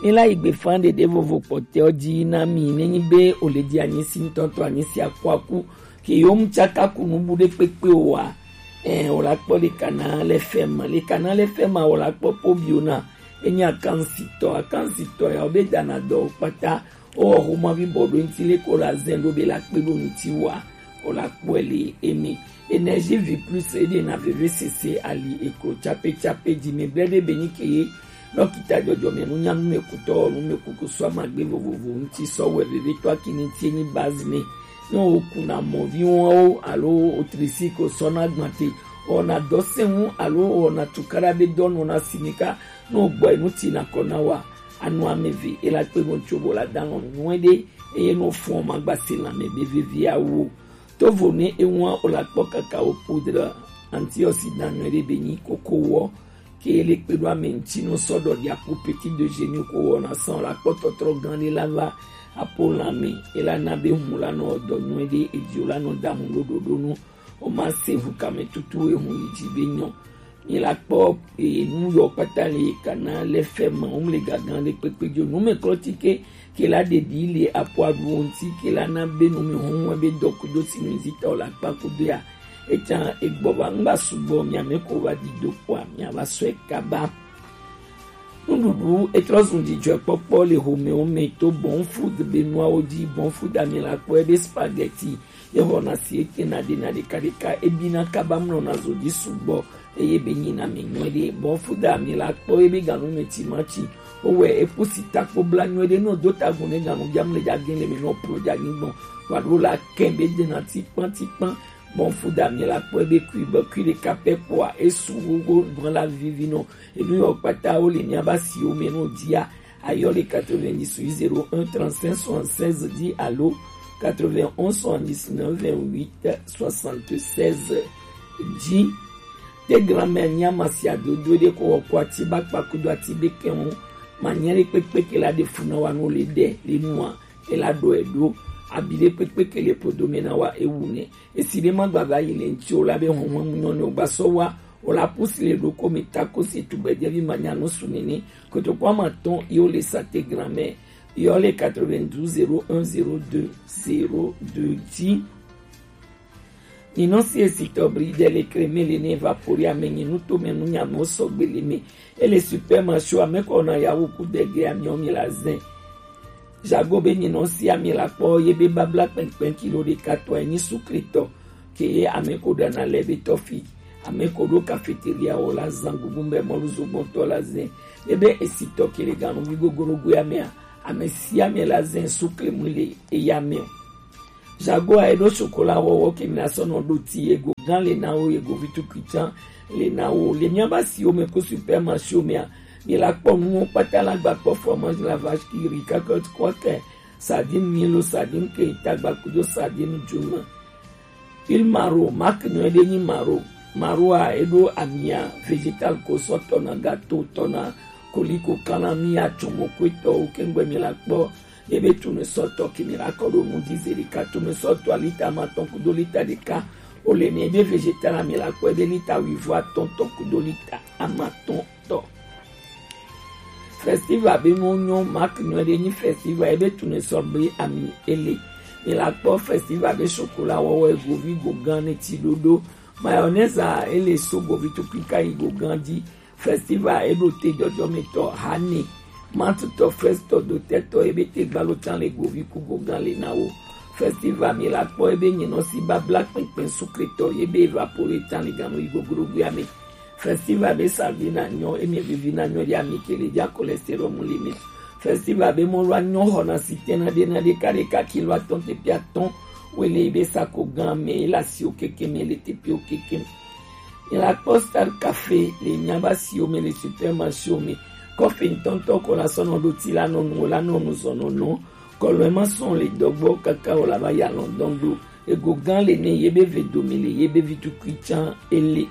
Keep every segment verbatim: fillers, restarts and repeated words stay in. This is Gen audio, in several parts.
Ela yi gbe fan ɖeɖe vovo kpɔtɛ ɔ ji na mi, ne nyi be o le di anyi si ŋutɔŋutɔ anyi si akuaku ke yo mu tsaka ku nubu ɖe kpekpe o wa. Ɛ, o la kpɔ le kana le fɛma, le kana le fɛma o la kpɔ po bio na. Enyi akansitɔ, akansitɔ ya o be dana dɔ o kpata. O wɔ xoma vi bɔ ɖo ŋuti le ko la zɛn ɖo be la kpe ɖo ŋuti wa. O la kpɔe le eme. Énergie vie plus e ɖe na veve sese ali eklo tsape tsape ji me blɛ ɖe be nyi ke ye. Dɔkita jɔjɔme nu nya nu me kutɔ nu me kuku sɔ amagbe vovovo ŋuti sɔ wɛ veve tɔ akini ti enyi base ne. Ne o kuna mɔvi wɔn o alo o trisi ko sɔ na gbante. O na dɔ se ŋu alo o na tukara be dɔ nu na sinika. Ne o gbɔ enu ti na kɔ na wa. Anu ame ve e la kpe bo ŋuti o bo la da lɔn nyuie ɖe. Eye ne o fɔn ma gba se lanme be vevi awu o. Tovo ne ewa o la kpɔ kakao poudre antioxydant nyuie ɖe be nyi koko wɔ. Ke le kpe ɖo ame ŋuti nɔ sɔ ɖɔ ɖia ku petit déjeuner ko wɔ na sɔn la kpɔ tɔtrɔ gan ɖe la va apo lanme e la na be hun la nɔ dɔ nyuie ɖe edio la nɔ da hun ɖo ɖoɖo nu. O ma se hun kame tutu e hun yi ji be nyɔ. Mi la kpɔ enu yɔ kpata le kana le fɛ ma wo le gagan le kpekpe jo nu me klɔ ti ke ke la ɖeɖi le apo aɖuwo ŋuti ke la na be nu mi hun be dɔ kudo si mi zi ta o la kpa kudo ya. Etsa egbɔ va ŋgba sugbɔ mi ame ko va di do kpɔa mi ava sɔe kaba. Nuɖuɖu etrɔ zun dzidzɔkpɔkpɔ le homewo me to Bon Food be nuawo ji. Bon Food ami la kpɔ ebe spaghetti ye xɔna si ete na ɖe na ɖeka ɖeka ebi na kaba mlɔ na zo dzi sugbɔ eye be nyi na mi nyuie ɖe. Bon Food ami la kpɔ ebe ganu me timati wowɛ eku si takpo bla nyuie ɖe nɔ do tagun ne ganu jam le jage le mi nɔ plo ja nyigbɔn wa ɖo la kɛ be de na tikpan tikpan. Bon Food ami la kpɔ ebe kui be kui ɖeka pɛ kpɔa esu wogo gbɔn la vivi nɔ. Enu yɔ kpata wo le miaba siwo me no dia. Ayɔ le quatre-vingt-dix-huit zéro un trente-cinq soixante-seize dix alo quatre-vingt-onze soixante-dix-neuf vingt-huit soixante-seize dix. Te grand-mère nya masia dodo de ko ko ati ba kpa kudo ati be ke won. Ma nya le pepe ke la de funa wa no le de le nua. E la do e do. Abi de pepe ke le podo me na wa e wu ne. Esi ɖe ma gbava yi le ŋuti o la be hɔnhɔn mu nyɔ ne o gba sɔ wa o la pusi le ɖo ko mi ta ko si tugbɛ jɛ vi ma nya nu su nene koto ko ama tɔn yi o le sa te grand-mère yi o le quatre-vingt-douze zéro un zéro deux zéro deux dix. Nyinɔ si esi tɔ bri de le kreme le ne evapori ame nyi nu to me nu nya me o sɔgbe le me. E le supermarché ame kɔ na yawo ku de ge ami o mi la zɛn. Jago be nyinɔ si ami la kpɔ ye be babla kpɛnkpɛn kilo ɖeka tɔ enyi sukritɔ ke ye ame ko ɖana le be tɔfi ame ko ɖo cafeteria wɔ la zan gugu be mɔlu zogbɔntɔ la zɛn ye be esitɔ ke le ganu vi gogoro go ya mea ame si ame la zɛn sukle mu le eya me o. Jago a eɖo sokola wɔwɔ ke mi la sɔ nɔ ɖo ti yego gan le na wo yego vi tukui tsan le na wo le miaba siwo me ko supermarché mea. Mi la kpɔ nuwo kpata la gba kpɔ fromage la vache qui rit, cacahuète, croquette, sardine milo, sardine keita gba kudo sardine djuma. Il maro marque nyuie ɖe nyi maro. Maro a eɖo amia végétal ko sɔ tɔna gâteau tɔna koliko kana mi atsɔmɔ ko etɔwo kengbe mi la kpɔ. Ebe tournesol tɔ ke mi la kɔ ɖo nu di ze ɖeka tournesol tɔ lita ma tɔn kudo lita ɖeka. O le mi ebe végétal mi la kpɔ ebe lita wuivo atɔn tɔn kudo lita ama tɔn tɔ. Festival be nu nyɔ marque nyuie ɖe nyi festival ebe tournesol be ami ele. Mi la kpɔ festival be chocolat wɔwɔ egovi gogan ne ti ɖoɖo. Mayonnaise a ele so govi tukui ka yi gogan di. Festival eɖo te jɔjɔmetɔ hane matutɔ festɔ dotɛtɔ ebe te gbalo tsan le govi ku gogan le na wo. Festival mi la kpɔ ebe nyinɔ si babla kpɛnkpɛn sukretɔ ebe evapore tsan le ganu yi gogoro gbe ame. Festival be sardine a nyɔ eme vivi na nyɔ ɖe ami ke le dza cholestérol mu le me. Festival be mɔlu a nyɔ xɔna si tɛna ɖe na ɖeka ɖeka kilo atɔn tepi atɔn wele be sako gan me ela si o keke me le tepi o keke. Ela kpɔ Star Café le nyaba si o me le supermarché o me. Kɔfe ŋutɔŋutɔ ko la sɔnɔ ɖo ti la nɔ nu o la nɔ nu zɔnɔ nɔ. Kɔlɔɛ ma sɔn le dɔgbɔ kaka o la va ya lɔndɔn do. Ego gan le ne ye be ve domi le ye be vi tukui tsan ele.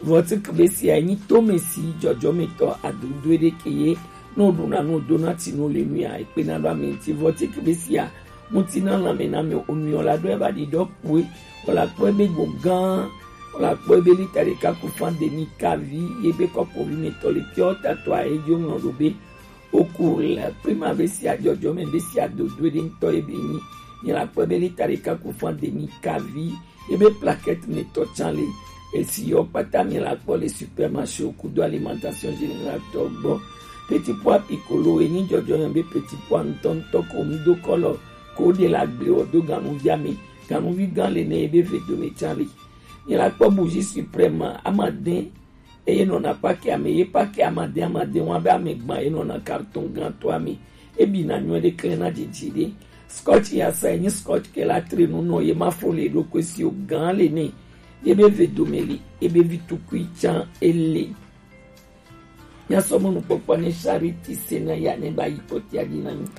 Vɔtik be sia nyi tome si jɔjɔmetɔ adodoe ɖe ke ye no ɖuna no dona ti no le nuya ekpe na ɖo ame ŋuti. Vɔtik be sia ŋuti na lãme na me onuyɔ la ɖo eva ɖi ɖɔ kpoe. Wala kpɔe be go gã wala kpɔe be lita ɖeka ku fan demi kavi ye be kɔpo vi me tɔ le piɔ tatɔ a edzo ŋlɔ ɖo be Pour la prima be si ajɔjɔ me be si adodo ɖe ŋutɔ ye be nyi. Nye la kpɔ be lita ɖeka ku fan demi kavi ye be plaquette me tɔ can le. Esi yɔ kpata mi la kpɔ le supermarché kudo alimentation générale tɔ gbɔ. Petit pois piccolo ye nyi jɔjɔ yɔ be petit pois ŋutɔ ŋutɔ ko ŋdo kɔlɔ ko de la gble wɔ do ganuvia me. Ganuvi gan le ne ye be ve do me can le. Nye la kpɔ bougie suprême amade eye nɔna pake ame ye pake amade amade wa be ame gban ye nɔna carton gan to ame. Ebi na nyuɛ ɖe klẽ na dzidzi ɖe. Scotch ya sa ye nyi scotch ke la tre nu nɔ ye ma fo le ɖo kwe si o gan le ne. Ye be ve do me li ye be vi tukui can ele. Míasɔ mɔnukpɔkpɔ ne Charity Sena ya ne ba yi kpɔtia dzi na mí.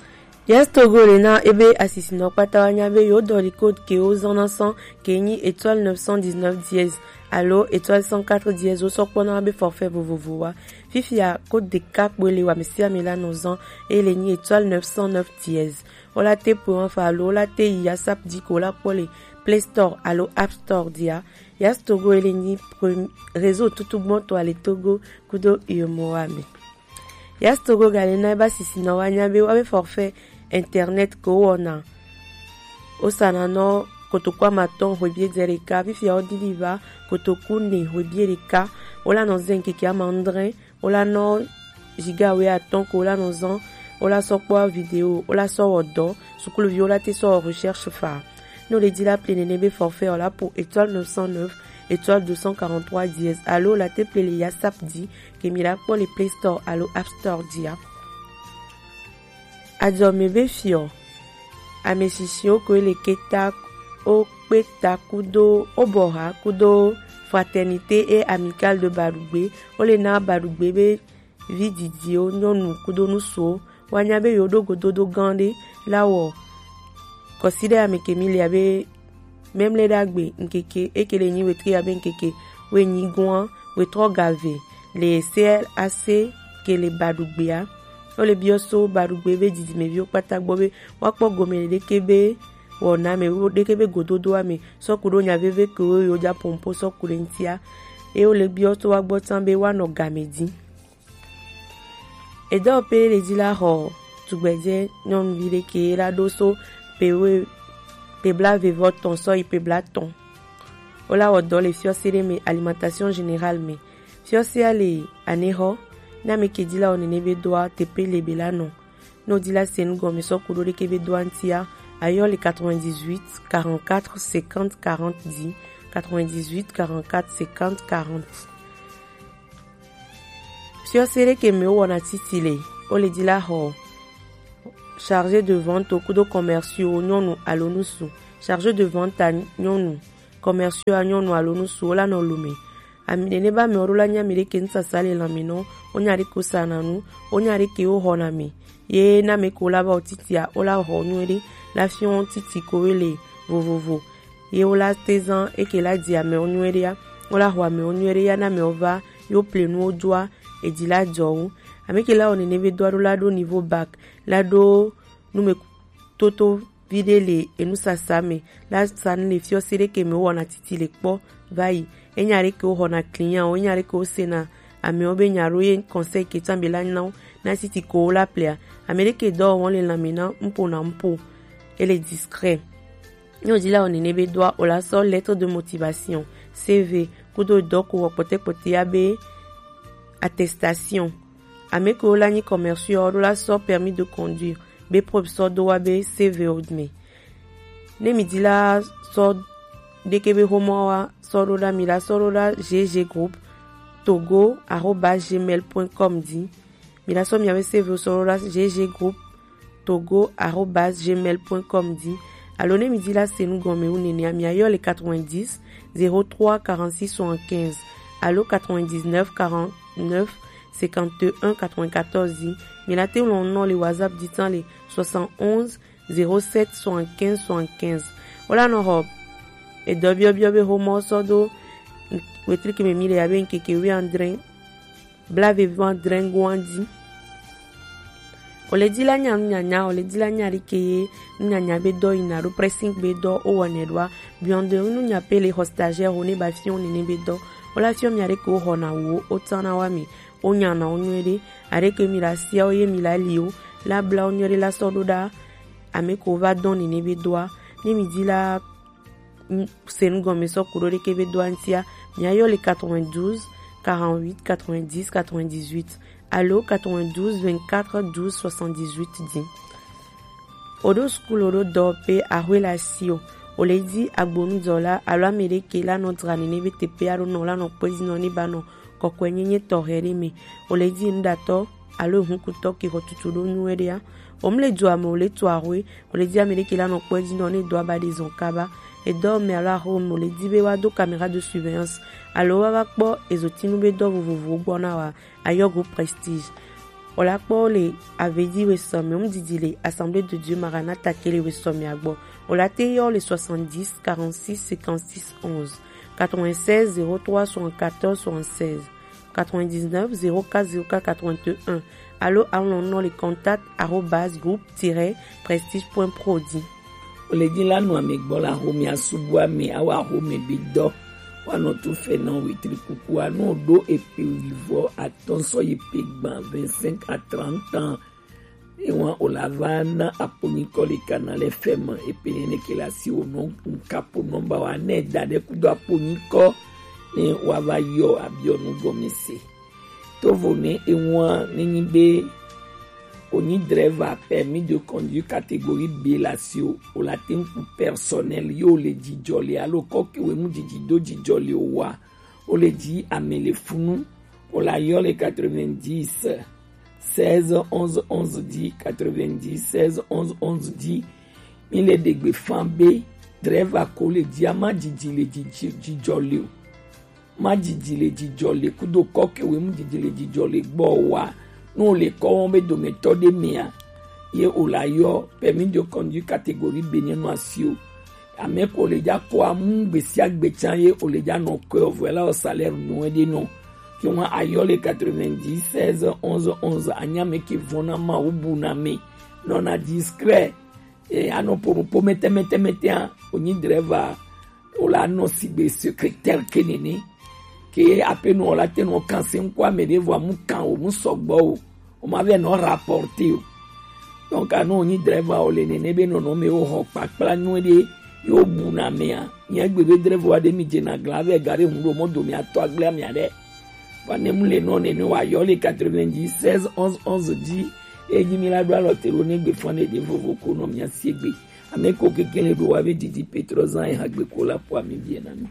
Yes Togo le na ebe asisinɔ kpata wa nya be yo dɔ li code ke wo zɔn na sɔn ke nyi étoile neuf cent dix-neuf dièse alo étoile cent quatre dièse wo sɔ kpɔ na be forfait vovovo wa. Fifia code ɖeka kpoe le wa mesi ame la nɔ zɔn e le nyi étoile neuf cent neuf dièse. Wo la te po wa fa alo wo la te yi ASAP di ko wo la kpɔ le Play Store alo App Store dia. Yes Togo ele nyi pre- réseau tutugbɔtɔ ale Togo kudo U E M O A me. Yes Togo gale na eba sisinɔ wa nya be wa be forfait internet ko wɔna. O sana nɔ kotoku amatɔn hwebie dze ɖeka fifia wo didi va kotoku ne hwebie ɖeka. Wo la nɔ zɛn keke ama adre. Wo la nɔ giga wuiatɔn ko wo la nɔ zɔn, wo la sɔ kpɔ video, wo la sɔ wɔ dɔ, sukuluvi wo la te sɔ wɔ recherche fa. Ne wo le di la ple nene be forfait o la po étoile neuf cent neuf étoile deux cent quarante-trois dièse alo wo la te ple le ASAP di ke mi la kpɔ le Play Store alo App Store dia. Ajɔme be fiɔ. Ameshishiwo ko le keta o kpeta kudo o bɔha kudo Fraternité et Amicale de Badugbe. Wo le na Badugbe be vi didiwo nyɔnu kudo nusuwo. Wa nya be yo ɖo gododo gan ɖe la wɔ kɔsi ɖe ame ke mi le abe Memle ɖagbe ŋkeke eke le nyi wetri abe ŋkeke wenyigoa wetrɔ gave le C L A C ke le Baɖugbea. Wo le biɔ so Baɖugbe be dzidzimeviwo kpata gbɔ be woakpɔ gome ɖeke be wɔna me wo ɖeke be gododoa me sɔku ɖo nya veve ke wo yo dza pompo sɔku ɖe ŋtia. Eye wo le biɔ so wa gbɔ tsã be woanɔ game dzi. Edɔ pele le dzi la xɔ tugbedzɛ nyɔnuvi ɖe ke la ɖo so pewe pebla vevɔ tɔn sɔ yi pebla tɔn. Wo la wɔ dɔ le fiɔse ɖe me alimentation générale me. Fiɔsea le anexɔ na me ke dzi la wɔ nene be doa tepe le be la nɔ. No dzi la se nu gɔme sɔ kuɖo ɖeke be doa ŋtia ayɔ le quatre-vingt-dix-huit quarante-quatre cinquante quarante dzi, quatre-vingt-dix-huit quarante-quatre cinquante quarante. Fiɔse ɖe ke me wowɔna titi le, wo le dzi la xɔ chargé de vente kudo commerciaux nyɔnu alo ŋutsu. Chargé de vente a nyɔnu, commerciaux a nyɔnu alo ŋutsu wo la nɔ lome. Ami nene ba me wo ɖo la nya mi ɖe ke ŋsasa le lãme nɔ, wo nya ɖe ke wo sana nu, wo nya ɖe ke wo xɔna mi. Ye na me ko la ba wo titia, wo la xɔ nyuie ɖe, la fiɔ titi ko we le vovovo. Ye wo la te zan eke la dzi amewo nyuie ɖe ya, wo la xɔ amewo nyuie ɖe ya na amewo va yo ple nuwo doa edzi la dzɔ wo. Ame ke la wɔ nene be doa ɖo la ɖo niveau bac la ɖo nume toto vi ɖe le enusasa me la sa nu le fiɔse ɖe ke me wowɔna titi le kpɔ va yi. Enya ɖe ke wo xɔna client wo, enya ɖe ke wo sena amewo be nya ɖo ye conseil ke tsã be la na wo na titi ko wo la plea. Ame ɖe ke dɔ wɔm le lãme na ŋpo na ŋpo. Ele discret. Ne wòdzi la wɔ nene be doa, wò la sɔ lettre de motivation, C V, kudo dɔ ko wɔ kpɔtɛkpɔtɛ ya be attestation. Ame kewo la nyi commerciaux ɖo la sɔ permis de conduire be preuve sɔ do wa be C V wo me. Ne mi di la sɔ ɖeke be xomɔ wa sɔ ɖo ɖa mi la sɔ ɖo ɖa G G groupe togo arobase gmail point com di. Mi la sɔ miabe C V wo sɔ ɖo ɖa G G groupe togo arobase gmail point com di. Alo ne mi di la se nu gɔme wu nenea, mi ayɔ le quatre-vingt-dix zéro trois quarante-six soixante-quinze alo quatre-vingt-dix-neuf quarante-neuf cinquante et un quatre-vingt-quatorze di. Mi la te ŋlɔ nɔ le WhatsApp di tan le soixante-onze zéro sept soixante-quinze soixante-quinze. Wo la nɔ xɔ edɔ biɔbiɔ be xomɔ sɔ do wetriki me mi le abe ŋkeke wuiadre blaeve vɔ adre goa di. Wòle di la nya nunyanya, wòle di la nya ɖi ke ye nunyanya be dɔ yina ɖo, pressing be dɔ wo wɔnɛ ɖoa, biɔnde nunya pe le xɔ stagiaire wo ne ba fiɔ nene be dɔ. Wo la fiɔ mia ɖe ke wo xɔna wo, wo tsana wa mi. wo nya na wo nyuie ɖe. Aɖe ke mi la sia wo ye mi la li wo la bla wo nyuie ɖe la sɔ ɖo ɖa. Ame ko va dɔn nene be doa, ne mi di la, mm, se nu gɔme sɔ kuɖo ɖeke be doa ŋutia, mi ayɔ le quatre-vingt-douze, quarante-huit, quatre-vingt-dix, quatre-vingt-dix-huit alo quatre-vingt-douze, vingt-quatre, douze, soixante-dix-huit dzi. O ɖo sukulu, o ɖo dɔwɔƒe, axwe le asiwò. O le di agbonudɔla alo ame ɖe ke la nɔ dzra nene be teƒe alo nɔ la nɔ kpedzi nɔ ne ba nɔ kɔkɔenyenye tɔxɛ ɖe me. O le di nuɖatɔ alo ehunkutɔ ke xɔ tutu ɖo nyuie ɖea. O mu le dua me, o le tu axwe, o le di ame ɖe ke la nɔ kpedzi nɔ ne dɔa ba ɖe zɔn kaba. Edɔ me alo axwe me, o le di be wa do caméra de surveillance alo wa va kpɔ ezotinu be dɔ vovovowo gbɔ na wa. Ayɔgo Prestige. O la kpɔ le Avedi Wesome, o mu didi le Assemblée de Dieu Maranatha ke le Wesome agbɔ. O la te yɔ le soixante-dix, quarante-six, cinquante-six, onze, quatre-vingt-seize, zéro trois, soixante-quatorze, soixante-seize, quatre-vingt-dix-neuf, zéro quatre, zéro quatre, quatre-vingt-un, alo alɔn nɔ le contact arobase groupe tiret prestige point pro dzi. O le di la nɔ ame gbɔ la xo mi asubu ame, awa xo me bi dɔ. Wa nɔ tu fɛ nɔ wetri kuku a nɔ ɖo epe wivɔ atɔn sɔ yi pe gban vingt-cinq à trente ans. Ewa o la va na aponyikɔ le kana le fɛ me epe nene ke la si o nɔ nkapo nɔmba wa ne da ɖe kudo aponyikɔ ne wa va yɔ abiɔ nu gɔme se. Tovo ne ewa ne nyi be o nyi driver permis de conduire catégorie B la si o, o la te ŋku personnel yo le jijɔ le alo kɔke we mu jiji do jijɔ le o wa. O le ji ame le funu, o la yɔ le quatre-vingt-dix, seize, onze, onze dix, quatre-vingt-dix, seize, onze, onze dix. Mi le ɖegbe fan be driver ko le ji ama jiji le jiji jijɔ le o. Ma jiji le jijɔ le kudo kɔke we mu jiji le jijɔ le gbɔ wa. No le kɔ wɔn be dometɔ ɖe mea, ye o la yɔ permis de conduire catégorie B ne nɔ asi o. Ame ko le ja ko amu gbesiagbe tsan ye o le ja nɔ kɔe o vɔ la o salaire nu ɖe nɔ. Ke ŋua ayɔ le quatre-vingt-dix, seize, onze, onze, anya me ke vɔna ma o bu na me. Nɔna discret. E anɔ po po mete mete mete a o nyi driver o la nɔ sigbe secrétaire ke nene. Ke ape nɔ o la te nɔ kan se ŋkɔ ame ɖe vɔ amu kan o mu sɔgbɔ o. O ma vɛ nɔ rapporter o. Donc, anu o nyi driver o le nene be nɔnɔme o xɔ kpakpla nyuie ɖe yo bu na mea. Nye gbe be driver wa ɖe mi dze na gla vɛ ga ɖe ŋu ɖo mɔ do mi atɔ agble amia ɖe. Wa ne mu le nɔ nene wa yɔ le quatre-vingt-dix, seize, onze, onze dzi. Eyi mi la ɖo alɔ te ɖo ne gbe fɔn ne ɖe vovo ko nɔ mia sie gbe. Ame ko keke le ɖo wa be didi Petro zan e ha gbe ko la po ami bie na mi.